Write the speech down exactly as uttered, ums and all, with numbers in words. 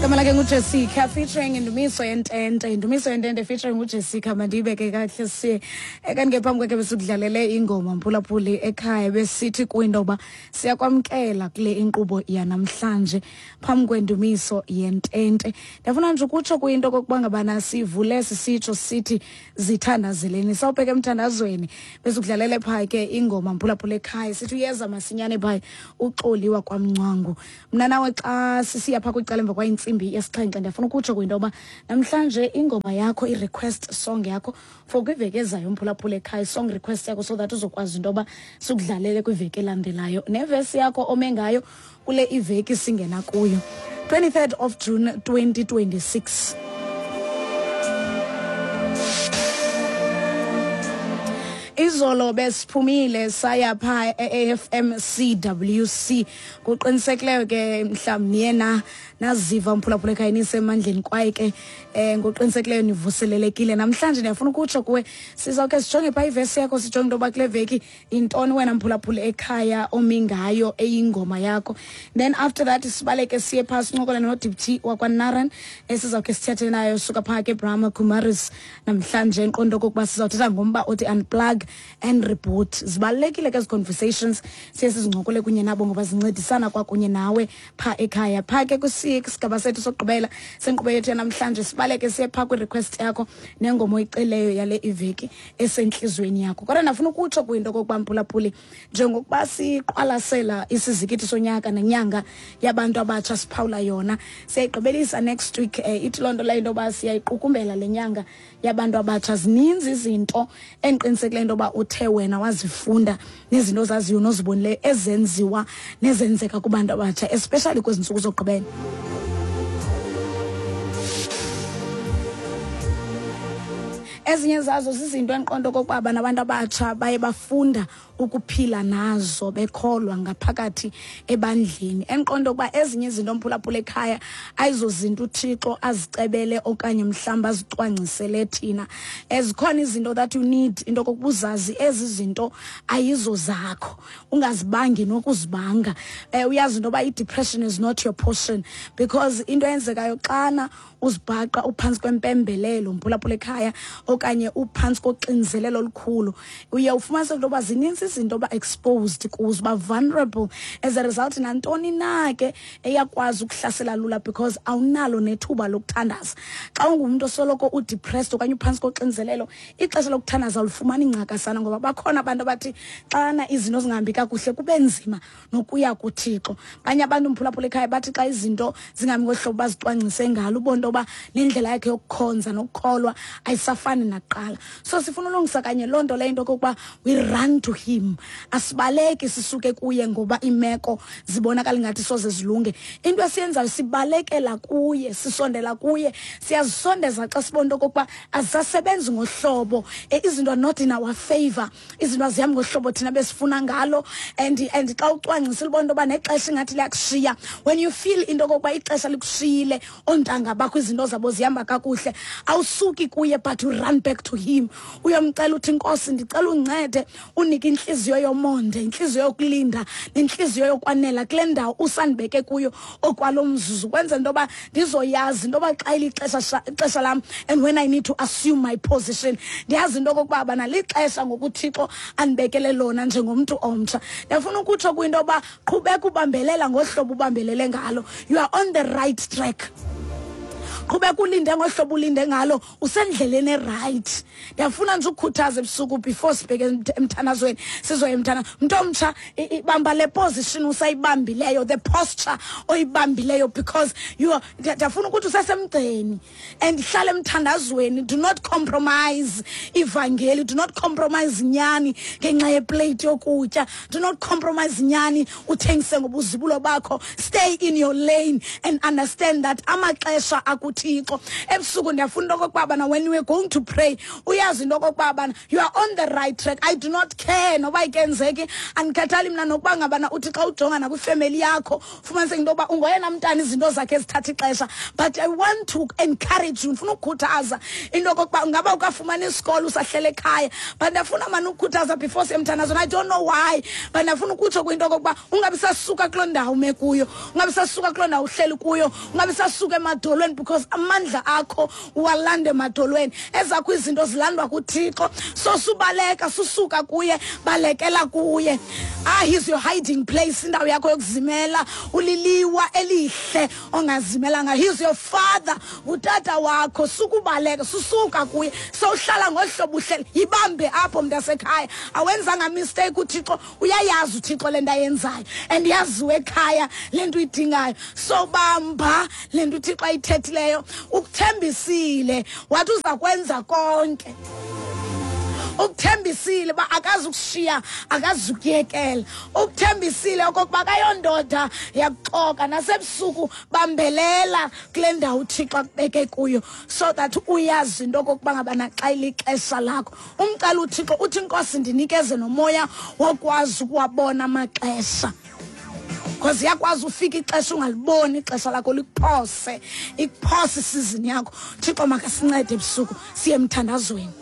Igama lakhe nguJessica featuring Indumiso Yentente. Indumiso Yentente featuring uJessica. Mandiyibeke kakuhle siye. Kanti ke phambi kwakhe besukudlalele ingoma, mphulaphuli ekhaya, besithi kwinto yoba siyakwamkela kule inkqubo yanamhlanje phambi kwendumiso yentente. Ndiyafuna nje ukutsho kuyinto okokuba ngabana sivule sisitsho sithi zithandazeleni, sawubheka emthandazweni. Besukudlalele phaa ke ingoma, mphulaphula ekhaya, sithi uyeza masinyane phaa uxoliwa kwamncwangu. Mna nawe xa sisiya phaa kwicala emva kwayintsimbi yesixhenxe, ndiyafuna ukutsho kwinto yoba namhlanje ingoma yakho, i-request song yakho for kwiveki ezayo, mphulaphula ekhaya, song request yakho so that uzokwazi into yoba sikudlalele kwiveki elandelayo, nevesi yakho ome ngayo kule iveki singena kuyo, twenty-third of June twenty twenty-six. Izolo besiphumile saya phaa e-A F M C W C. Kuqinisekileyo ke mhlawumbi niyena naziva, mphulaphula ekhaya, nisemandleni kwaye ke um ngokuqinisekileyo nivuselelekile. Namhlanje ndiyafuna ukutsho kuwe, sizawukhe sijonge phaa ivesi yakho, sijonge into yoba kule veki yintoni wena, mphulaphula ekhaya, omi ngayo eyingoma yakho. Then after that sibaleke siye phaa sincokole noDeputy wakwaNaran esizawukhe sithethe nayo suka phaa ke Brahma Kumaris namhlanje, enqondo okokuba sizawuthetha ngomba othi unplug and reboot. Zibalulekile ke ezi conversations siye sizincokole kunye nabo ngoba zincedisana kwakunye nawe phaa ekhaya. Phaa ke kwisigaba sethu sokugqibela senkqubo yethu yanamhlanje sibaleke siye phaa kwi-request yakho nengoma oyiceleyo yale iveki esentliziyweni yakho. Kodwa ndafuna ukutsho kwinto okokuba, mphulaphuli, njengokuba siqwalasela isizikithi sonyaka nenyanga yabantu abatsha siphawula yona, siyayigqibelisa next week. um ithi loo nto leyo into yoba siyayiqukumbela le nyanga yabantu abatsha. Zininzi izinto endiqinisekileyo into yoba uthe wena wazifunda nezinto ozaziyo nozibonileyo ezenziwa nezenzeka kubantu abatsha, especially kwezi ntsuku zokugqibela. Ezinye zazo zizinto endiqonda okokuba nabantu abatsha baye bafunda ukuphila nazo bekholwa ngaphakathi ebandleni, endiqonda ukuba ezinye izinto, mphulaphula ekhaya, ayizozinto uThixo azicebele okanye mhlawumbi azicwangcisele thina. Ezikhona izinto that you need into okokuba uzazi ezi zinto ayizo zakho, ungazibangi nokuzibanga. um uyazi into yoba i-depression is not your portion, because into eyenzekayo xana uzibhaqa uphantsi kwempembelelo, mphulaphula ekhaya, okanye uphantsi koxinzelelo olukhulu, uye ufumanise into yoba zininzi izinto oba exposed kuzo, uba vulnerable. As a result, nantoni na ke eyakwazi ukuhlasela lula because awunalo nethuba lokuthandaza. Xa ungumntu osoloko udepressed okanye uphantsi koxinzelelo, ixesha lokuthandaza ulifumana ingcakasana, ngoba bakhona abantu abathi xana izinto zingahambi kakuhle kube nzima nokuya kuThixo. Abanye abantu, mphulaphula ekhaya, bathi xa izinto zingahambi ngohlobo bazicwangcise ngalo, ubone into yoba nendlela yakhe yokukhonza nokukholwa ayisafani nakuqala. So sifuna ulungisa kanye loo nto leyo, into okokuba we run to him, asibaleki sisuke kuye ngoba iimeko zibonakala ingathi soze zilunge. Into esiyenzayo, sibalekela kuye, sisondela kuye, siyazisondeza xa sibona into okokuba azisasebenzi ngohlobo, eh, izinto are not in our favor, izinto azihambi ngohlobo thina besifuna ngalo. and and xa ucwangcisile ubona into yoba nexesha ingathi liyakushiya, when you feel into okokuba ixesha likushiyile, oontanga bakho izinto zabo zihamba kakuhle, awusuki kuye but you run back to him. Uyomcela uthi, "Nkosi, ndicela undincede, unike intliziyo yomonde, intliziyo yokulinda nentliziyo yokwanela kule ndawo usandibeke kuyo okwalo mzuzu, kwenzela into yoba ndizoyazi into yoba xa ilixesha ixesha lam and when I need to assume my position, ndiyazi into okokuba bana lixesha ngokuThixo andibekele lona njengomntu omtsha." Ndiyafuna ukutsho kwinto yoba qhubeka ubambelela ngohlobo ubambelele ngalo, you are on the right track. Qhubeka ulinde ngohlobo ulinde ngalo, usendleleni eright. Ndiyafuna nje ukukhuthaza ebusuku before sibheke emthandazweni, sizoya emthanda. Mntu omtsha, bamba le position usayibambileyo, the posture oyibambileyo, because you are, ndiyafuna ukuthi usesemgceni and hlala emthandazweni. Do not compromise ivangeli, do not compromise nyani ngenxa yeplate yokutya, do not compromise nyani uthengise ngobuzibulo bakho. Stay in your lane and understand that amaxesha akuthi kuThixo. Ebusuku ndiyafuna into okokuba bana when we are going to pray, uyazi into okokuba bana you are on the right track. I do not care noba ikenzeki, andikhathali mna nokuba ngabana uthi xa ujonga nakwifemeli yakho ufumaniseke into yokuba ungoyena mntana izinto zakhe ezithatha ixesha. But I want to encourage you, ndifuna ukukhuthaza into okokuba ungaba ukafumana isikolo usahlele ekhaya, but ndiyafuna mani ukukhuthaza before siye emthandazweni. I don't know why, but ndiyafuna ukutsho kwinto okokuba ungabi sasuka kuloo ndawo ume kuyo, ungabi sasuka kuloo ndawo uhleli kuyo, ungabi sasuka emadolweni, because amandla akho uwalanda emadolweni. Ezakho izinto zilandwa kuThixo. So subaleka, susuka kuye, balekela kuye. Ah, he's your hiding place, indawo yakho yokuzimela, uliliwa elihle ongazimela ngayo. He's your father, utata wakho. Sukubaleka, susuka kuye. So uhlala ngohlobo uhleli, yibambe apho mntasekhaya. Awenzanga mistake, uThixo uyayazi uThixo le nto ayenzayo, and yaziwe ekhaya le nto uyidingayo. So bamba le nto uThixo ayithethileyo, ukuthembisile wathi uza kwenza konke. Ukuthembisile uba akazukushiya, akazukuyekela. Ukuthembisile okokuba akayondoda yakuxoka. Nasebusuku bambelela kule ndawo uThixo akubeke kuyo, so that uyazi into okokuba ngabana xa ilixesha lakho umcela uThixo uthi, Nkosi, ndinikeze nomoya wokwazi ukuwabona amaxesha, because iyakwazi ufika ixesha ungaliboni ixesha lakho, likuphose, ikuphose isizini yakho. Thixo makasincede ebusuku siye emthandazweni.